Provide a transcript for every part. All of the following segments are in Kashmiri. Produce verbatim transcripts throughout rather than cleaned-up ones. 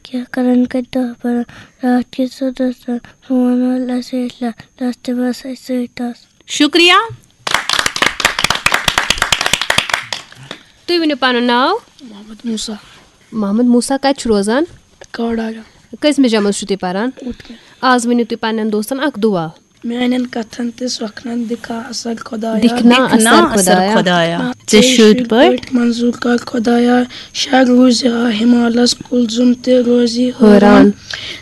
کینٛہہ کران کتہِ دَہ پران، راتھ کِژھ ٲس آسان، فون وٲلۍ ٲسۍ أسۍ لہ-، لَس تہِ بس أسۍ سۭتۍ آسان۔ شُکریہ۔ تُہۍ ؤنِو پنُن ناو۔ محمد موسیٰ۔ محمد موسیٰ کتہِ چھُ روزان؟ کاڑاگا۔ کٔژمہِ جمٲژ چھِو تُہۍ پران؟ اوٗتھ کَنہِ۔ آز ؤنِو تُہۍ پننٮ۪ن دوستن اکھ دُعا۔ میانٮ۪ن کتھن تہٕ سۄکھنن دِکھا اثر خۄدایا۔ دِکھنا دِکھنا اثر اثر خۄدایا۔ خۄدایا۔ ژےٚ ژےٚ شُرۍ شُرۍ پٲٹھۍ۔ پٲٹھۍ منظوٗر کر خۄدایا۔ شاہ روٗزِ ہا ہمالس کُلزُم تہِ روزِ حٲران۔ حٲران۔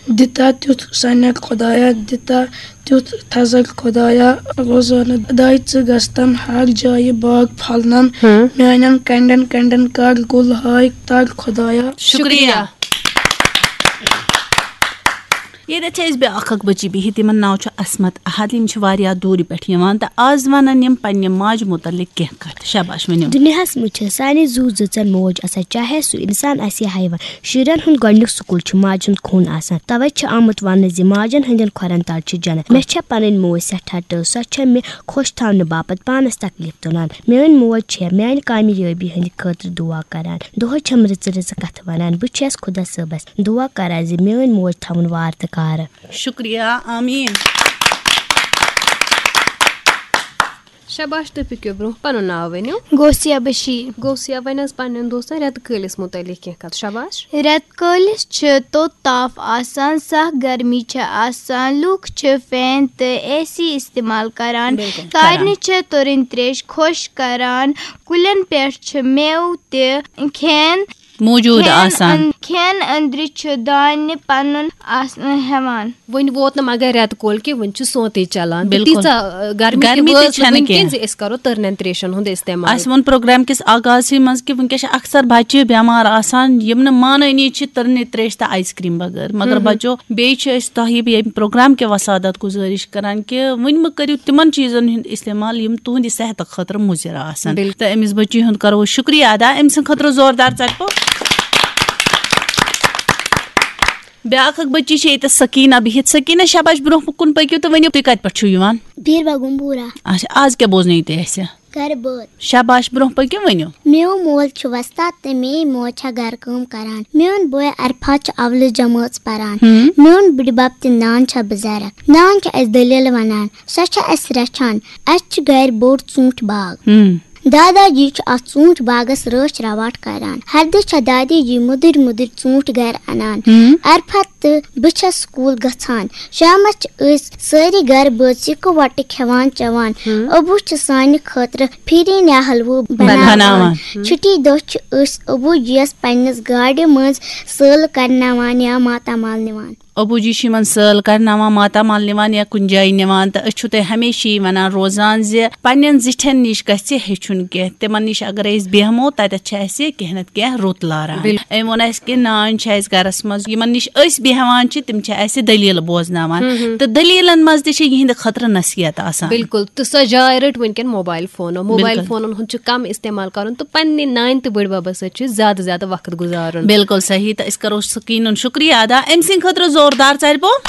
دِتا تیُتھ سنٮ۪ر خۄدایا، دِتا تیُتھ تھزر خۄدایا۔ روزانہٕ داے ژٕ گژھتم ہر جایہِ باغ پھۄلنم۔ ہاں۔ میانٮ۪ن کنڈٮ۪ن کنڈٮ۪ن کر گُل ہاے تر خۄدایا۔ شُکریہ۔ ییٚتٮ۪تھ چھِ أسۍ بیٛاکھ اکھ بٔچی بِہِتھ، یِمن ناو چھُ عصمت احد۔ یِم چھِ واریاہ دوٗرِ پٮ۪ٹھ یِوان تہٕ آز وَنَن یِم پننہِ ماجہِ مُتعلق کینٛہہ کَتھ۔ شاباش، ؤنِو۔ دُنیاہَس منٛز چھِ سانہِ زُو زٲژَن موج آسان، چاہے سُہ اِنسان آسہِ یا حیوان۔ شُرٮ۪ن ہُنٛد گۄڈٕنیُک سکوٗل چھُ ماجہِ ہُنٛد خوٗن آسان۔ تَوَے چھِ آمُت وَننہٕ زِ ماجَن ہٕنٛدٮ۪ن کھۄرَن تَل چھِ جنت۔ مےٚ چھےٚ پَنٕنۍ موج سٮ۪ٹھاہ ٹٲٹھ، سۄ چھےٚ مےٚ خۄش تھاونہٕ باپتھ پانَس تکلیف تُلان۔ میٲنۍ موج چھےٚ میانہِ کامیٲبی ہٕنٛدِ خٲطرٕ دُعا کران۔ دۄہے چھم رٕژٕ رٕژٕ کتھٕ ونان۔ بہٕ چھس خۄدا صٲبس دُعا کران زِ میٲنۍ موج تھاوُن وارٕ تہٕ کارٕ۔ شُکریہ، آمیٖن۔ شاباش، تُہۍ پٔکِو برونٛہہ، پنُن ناو ؤنِو۔ غوثیہ بشیر۔ غوثیہ، وۄنۍ حظ پننٮ۪ن دوستن رٮ۪تہٕ کٲلِس مُتعلق کینٛہہ کتھ۔ شاباش۔ رٮ۪تہٕ کٲلِس چھِ توٚت تاپھ آسان، سخ گرمی چھِ آسان، لوٗکھ چھِ فین تہٕ اے سی استعمال کران۔ بِلکُل۔ سارنٕے چھِ تُرٕنۍ تریش خۄش کران، کُلٮ۪ن پٮ۪ٹھ چھِ مٮ۪وٕ تہِ کھٮ۪ن موٗجوٗد کھٮ۪ن آسان۔ أن-، کھٮ۪ن أنٛدرِ چھُ دانہِ پنُن آسنہٕ ہٮ۪وان۔ وۄنۍ ووت نہٕ مگر رٮ۪تہٕ کول کینٛہہ، وۄنۍ چھُ سونتٕے چلان۔ تہٕ بِلکُل۔ تیٖژاہ، آ، گرمی تہِ گرمی تہِ وٲژ نہٕ چھَنہٕ وٕنکٮ۪ن کینٛہہ۔ زِ أسۍ کرو تٕرنٮ۪ن تریشن ہُنٛد استعمال۔ اَسہِ ووٚن پروگرام کِس آغازسٕے منٛز کہِ وٕنکٮ۪س چھِ اکثر بچہِ بٮ۪مار آسان، یِم نہٕ مانٲنی چھِ تٕرنہِ تریش تہٕ آیِس کریم بغٲر۔ مگر ہم ہم۔ بچو، بیٚیہِ چھِ أسۍ تۄہہِ ییٚمہِ پروگرام کہِ وسادت گُزٲرِش کران کہِ وۄنۍ مہٕ کٔرِو تِمن چیٖزن ہُنٛد استعمال یِم تُہنٛدِ صحتہٕ خٲطرٕ مُضِر آسان۔ بِلکُل۔ تہٕ أمِس بچی ہُنٛد کرو أسۍ شُکریہ ادا، أمۍ سٕنٛدِ خٲطرٕ زوردار ژَٹہِ پوٚپ۔ بیٛاکھ اکھ بچی چھِ ییٚتہِ سکیٖنہ بِہِتھ۔ سکیٖنہ، شاباش، برونٛہہ کُن پٔکِو تہٕ ؤنِو، تُہۍ کتہِ پٮ۪ٹھ چھِو یِوان؟ بیٖر بگُم بوٗرا۔ اچھا، آز کیٛاہ بوزنٲیِو تُہۍ اَسہِ؟ گرٕ بٲتھ۔ شاباش، برونٛہہ پٔکِو، ؤنِو۔ میون مول چھُ وۄستاد تہٕ میٲنۍ موج چھےٚ گرٕ کٲم کران۔ میون بوے عرفات چھُ اولٕچ جمٲژ پران۔ ہم۔ میون بٕڈِبب تہٕ نان چھےٚ بُزرگ۔ نان چھےٚ اَسہِ دٔلیٖل ونان۔ سۄ چھےٚ اَسہِ رچھان۔ اَسہِ چھُ گرِ بوٚڑ ژوٗنٛٹھۍ باغ۔ ہم۔ دادا جی چھُ اَتھ ژوٗنٛٹھۍ باغس رٲچھ راوٹھ کران۔ ہردٕ چھےٚ دادی جی مُدٕرۍ مُدٕرۍ ژوٗنٛٹھۍ گرٕ انان۔ ہم۔ عرفت تہٕ بہٕ چھَس سکوٗل گژھان۔ شامَس چھِ أسۍ سٲری گرٕ بٲژ یِکہٕ وَٹہٕ کھٮ۪وان چٮ۪وان۔ ہم۔ ابوٗ چھُ سانہِ خٲطرٕ پھِرِنۍ یا حلوٕ بناوان۔ بناوان۔ ہم۔ چھُٹی دۄہ چھِ أسۍ ابوٗ جِیَس پننِس گاڑِ منٛز سٲل کرناوان یا ماتامال نِوان۔ ابوٗ جی چھِ یِمن سٲل کرناوان، ماتامال نِوان یا کُنہِ جایہِ نِوان، تہٕ أسۍ چھِو تۄہہِ ہمیشہِ یی وَنان روزان زِ پننٮ۪ن زِٹھٮ۪ن نِش گژھِ ہیٚچھُن کینٛہہ، تِمن نِش اگر أسۍ بیٚہمو، تَتٮ۪تھ چھِ اَسہِ کینٛہہ نتہٕ کینٛہہ رُت لاران۔ بِلکُل۔ أمۍ ووٚن اَسہِ کہِ نانۍ چھِ اَسہِ گرس منٛز، یِمن نِش أسۍ بیٚہوان چھِ، تِم چھِ اَسہِ دٔلیٖل بوزناوان۔ ہم ہم۔ تہٕ دٔلیٖلن منٛز تہِ چھِ یِہنٛدِ خٲطرٕ نصیحت آسان۔ بِلکُل، تہٕ سۄ جاے رٔٹ وٕنکٮ۪ن موبایل فونو۔ موبایل بِلکُل۔ فونن ہُنٛد چھُ کم استعمال کرُن تہٕ پننہِ نانہِ تہٕ بٕڈببس سۭتۍ چھُ زیادٕ زیادٕ وقت گُزارُن۔ بِلکُل صحیح، تہٕ أسۍ کرو سکیٖنُن شُکریہ ادا، أمۍ سٕنٛدِ خٲطرٕ زوردار ژَرِ پوٚپ۔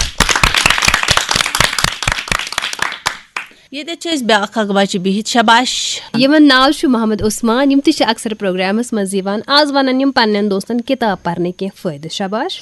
ییٚتٮ۪تھ چھِ أسۍ بیٛاکھ اکھ بچہِ بِہِتھ، شاباش۔ یِمن ناو چھُ محمد عثمان، یِم تہِ چھِ اکثر پروگرامس منٛز یِوان۔ آز ونن یِم پننٮ۪ن دوستن کِتاب پرنٕکۍ کینٛہہ فٲیدٕ۔ شاباش۔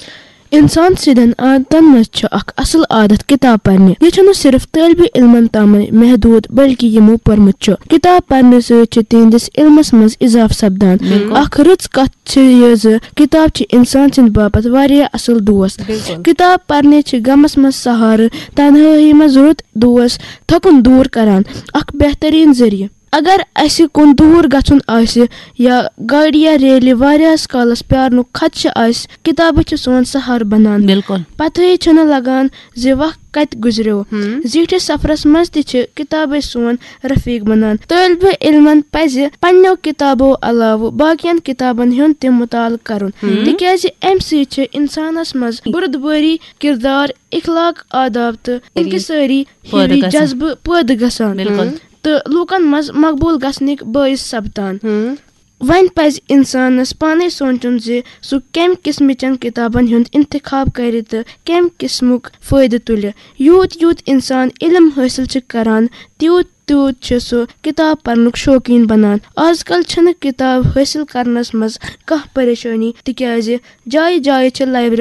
انسان سٕنٛدٮ۪ن عادتن منٛز چھُ اکھ اصل عادت کِتاب پرنہِ۔ یہِ چھُنہٕ صرف طٲلبِ علمن تامٕے محدوٗد، بلکہِ یِمو پوٚرمُت چھُ۔ کِتاب پرنہٕ سۭتۍ چھُ تِہنٛدِس علمس منٛز اضافہٕ سپدان۔ بِلکُل۔ اکھ رٕژ کتھ چھِ یہِ زِ کِتاب چھِ انسان سٕنٛدِ باپتھ واریاہ اصل دوست۔ بِلکُل۔ کِتاب پرنہِ چھِ غمس منٛز سہارٕ، تنہٲیی منٛز رُت دوست، تھکُن دوٗر کران۔ اکھ بہترین ذٔریعہٕ۔ اگر اسہِ کُن دوٗر گژھُن آسہِ یا گاڑِ یا ریلہِ واریاہس کالس پیارنُک خدشہٕ آسہِ، کِتابہٕ چھِ سون سہارٕ بنان۔ بِلکُل۔ پتہٕے چھُنہٕ لگان زِ وق کتہِ گُزریو۔ ہم۔ زیٖٹھِس سفرس منٛز تہِ چھِ کِتابے سون رفیق بنان۔ طٲلبِ علمن پزِ پننیو کِتابو علاوٕ باقین کِتابن ہُنٛد تہِ مطالعہٕ کرُن، ہم۔ تِکیازِ امہِ سۭتۍ چھِ انسانس منٛز بُردبٲری، کردار، اخلاق، آداب تہٕ انکسٲری پٲدٕ ہِوی گژھان۔ جذبہٕ پٲدٕ گژھان۔ بِلکُل۔ تہٕ لوٗکن منٛز مقبوٗل گژھنٕکۍ بٲعث سپدان۔ ہم۔ وۄنۍ پزِ انسانس پانے سونچُن زِ سُہ کمہِ قٕسمٕچن کِتابن ہُنٛد انتخاب کرِ تہٕ کمہِ قٕسمُک فٲیدٕ تُلہِ۔ یوٗت یوٗت انسان علم حٲصِل چھِ کران، تیوٗت تیوٗت چھُ سُہ کِتاب پرنُک شوقیٖن بنان۔ آز کل چھنہٕ کِتاب حٲصِل کرنس منٛز کانٛہہ پریشٲنی، تِکیازِ جایہِ جایہِ چھِ library۔